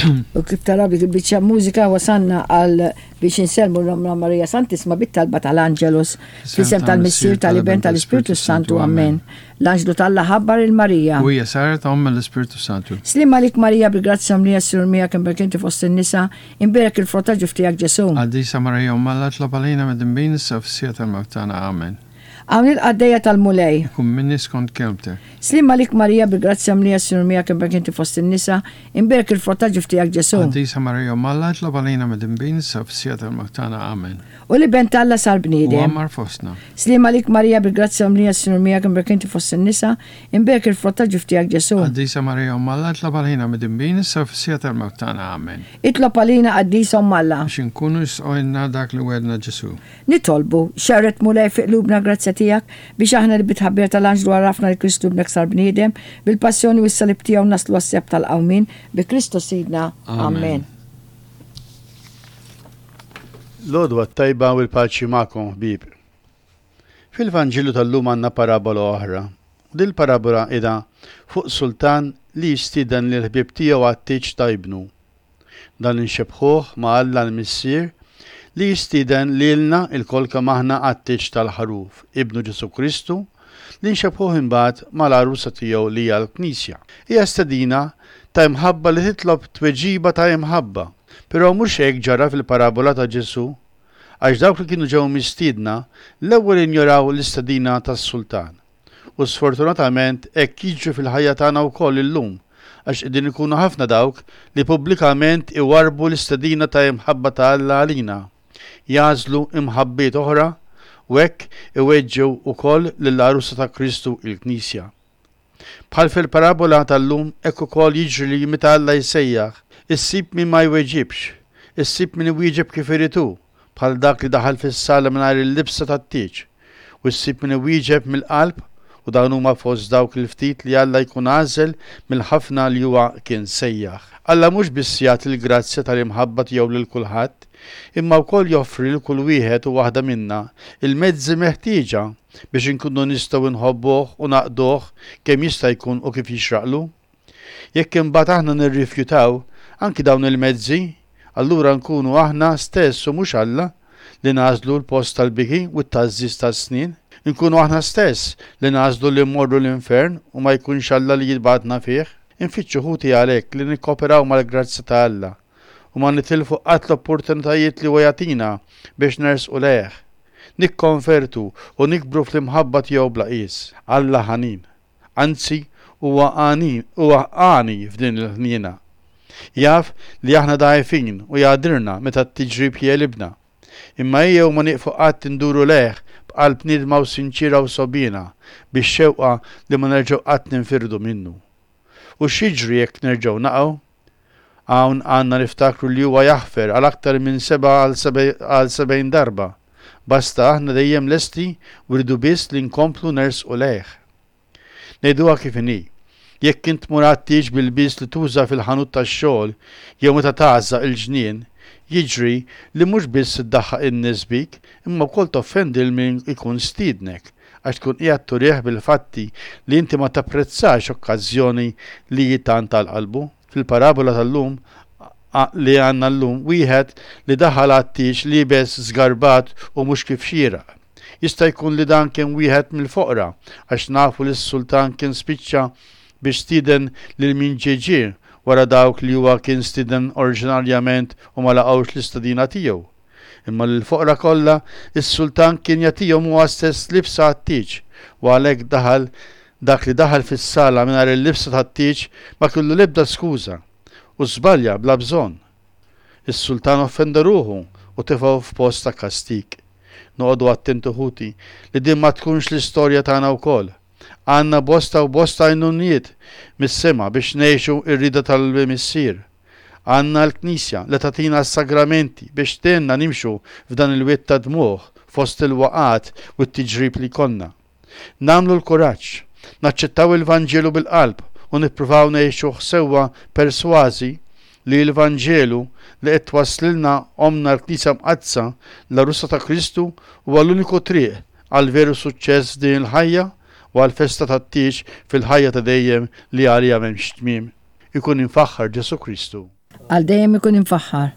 U kif taraw dik il-biċċa mużika wasanna għal biex insellmu l-Ommna Marija Santisma bit-talba tal-Angelus. F'isem tal-Missier, tal-Iben, tal-Ispirtu Santu. Amen. L-Anġlu t'Alla ħabbar 'il Marija. U hija saret omm l-Ispirtu Santu. Sliem għalik Marija bi grazzja mlija s-Sinjur miegħek imbierek inti fost in-nisa, imbierek il-frott ta' ġuf tiegħek Ġesù. Qaddisa Marija Omm Alla tlob għalina midinbin issa u fis-siegħa tal-mewt tagħna. Amen. Hawn il-qaddejja tal-Mulej. Ikun minni skont kelmtek. Sliem għalik Marija bi grazzja mlija s-Sinjur miegħek imbierek inti fost in-nisa, imbierek il-frott ta' ġuf tiegħek Ġesù. Qaddisa Marija Omm Alla itlob għalina midinbin issa u fis-siegħa tal-mewt tagħna. Amen. U l-Iben t'Alla sar bniedem. U għammar fostna. Sliem għalik Marija bi grazzja mlija s-Sinjur miegħek imbierek inti fost in-nisa, imbierek il-frott ta' ġuf tiegħek Ġesù. Qaddisa Marija Omm Alla itlob għalina midinbin issa u fis-siegħa tal-mewt tagħna. Amen. Itlob għalina Qaddisa Omm Alla. Biex inkunu jistqoilna dak li wegħedna Ġesù. Nitolbu, xerred Mulej fi qlubna l-grazzja tiegħek, biex aħna li bit-tħabbira tal-anġlu għarafna li Kristu Ibnek sar bniedem, bil-passjoni u s-salib tiegħu naslu għas-sebħ tal-qawmien, bi Kristu Sidna. Amen. L-għodwa t-tajba u l-paċi magħkom ħbieb. Fil-Vanġelu tal-lum għandna parabola oħra. U din il-parabola qiegħda fuq sultan li jistieden lill-ħbieb tiegħu għat-tieġ ta' ibnu. Dan inxebbħuh ma' Alla l-Missier li jistieden lilna lkoll kemm aħna għat-tieġ tal-Ħaruf, Ibnu Ġesù Kristu, li nxebbħuh imbagħad mal-għarusa tiegħu li hija l-Knisja. Hija stedina ta' imħabba li titlob tweġiba ta' imħabba. Però mhux hekk ġara fil-parabola ta' Ġesù, għax dawk li kienu ġew mistiedna l-ewwel injoraw l-istedina tas-Sultan. U sfortunatament hekk jiġri fil-ħajja tagħna wkoll illum, għax qegħdin ikunu ħafna dawk li pubblikament iwarrbu l-istedina ta' imħabba ta' Alla għalina, jagħżlu imħabbiet oħra u hekk iweġġgħu wkoll lill-għarusa ta' Kristu, il-Knisja. Bħal fil-parabola tal-lum hekk ukoll jiġri li meta Alla jsejjaħ, issib min ma jweġibx, issib min iwieġeb kif irid hu, bħal dak li daħal fis-sala mingħajr il-libsa tat-tieġ, u ssib min iwieġeb mill-qalb, u dawn huma fost dawk il-ftit li Alla jkun għażel mill-ħafna li huwa kien sejjaħ. Alla mhux biss jagħti l-grazzja tal-imħabba tiegħu lil kulħadd, imma wkoll joffri lil kull wieħed u waħda minna l-mezzi meħtieġa biex inkunu nistgħu nħobbuh u naqduh kemm jista' jkun u kif jixraqlu. Jekk imbagħad aħna nirrifjutaw anki dawn il-mezzi, allura nkunu aħna stess u mhux Alla li nagħżlu l-post tal-biki u t-tgħażżiż tas-snien. Inkunu aħna stess li nagħżlu li mmorru l-infern u ma jkunx Alla li jibgħatna fih. Infittxu ħuti għalhekk li nikkooperaw mal-grazzja ta' Alla u ma nitilfu qatt l-opportunitajiet li huwa jagħtina biex nersqu lejh, nikkonvertu u nikbru fl-imħabba tiegħu bla qies. Alla ħanin. Anzi, huwa għani, huwa għani f'din il-ħniena. Jaf li aħna dgħajfin u jagħdirna meta t-tiġrib jegħlibna. Imma ejjew ma nieqfu qatt induru lejh b'qalb niedma u sinċiera u sogħbiena, bix-xewqa li ma nerġgħu qatt ninfirdu minnu. U x'jiġri jekk nerġgħu naqgħu? Hawn għandna niftakru li huwa jaħfer għal aktar minn seba' għal 70 darba. Basta aħna dejjem lesti u rridu biss li nkomplu nersqu lejh. Ngħiduha kif inhi, jekk int tmur għat-tieġ b'ilbies li tuża fil-ħanut tax-xogħol jew meta tgħażżaq il-ġnien, jiġri li mhux biss iddaħħaq in-nies bik imma wkoll toffendi 'l min ikun stiednek għax tkun qiegħed turih bil-fatti li inti ma tapprezzax okkażjoni li hi tant għal qalbu. Fil-parabola tal-lum li għandna llum, wieħed li daħal għat-tieġ liebes żgarbat u mhux kif xieraq. Jista' jkun li dan kien wieħed mill-foqra, għax nafu li s-sultan kien spiċċa biex stieden lil min ġie ġie wara dawk li huwa kien stieden oriġinarjament u ma laqgħux l-istedina tiegħu. Imma lill-foqra kollha s-sultan kien jagħtihom huwa stess libsa għat-tieġ, u għalhekk daħal dak li daħal fis-sala mingħajr il-libsa tat-tieġ ma kellu l-ebda skuża, u żbalja bla bżonn. Is-sultan offenda ruħu u tefgħu f'post ta' kastig. Noqogħdu attenti ħuti li din ma tkunx l-istorja tagħna wkoll. Għandna bosta u bosta għajnuniet mis-sema biex ngħixu r-rieda tal-Missier. Għandna l-Knisja li tagħtina s-sagramenti biex tgħinna nimxu f'dan il-wied ta' dmugħ fost il-waqgħat u t-tiġrib li jkollna. Nagħmlu l-kuraġġ, naċċettaw il-Vanġelu bil-qalb u nippruvaw ngħixuh sewwa persważi li l-Vanġelu li qed twasslilna Ommna l-Knisja Mqaddsa, l-Għarusa ta' Kristu, huwa l-uniku triq għal veru suċċess f'din il-ħajja u għall-festa tat-tieġ fil-ħajja ta' dejjem li għaliha m'hemmx tmiem. Ikun imfaħħar Ġesù Kristu. Għal dejjem ikun imfaħħar.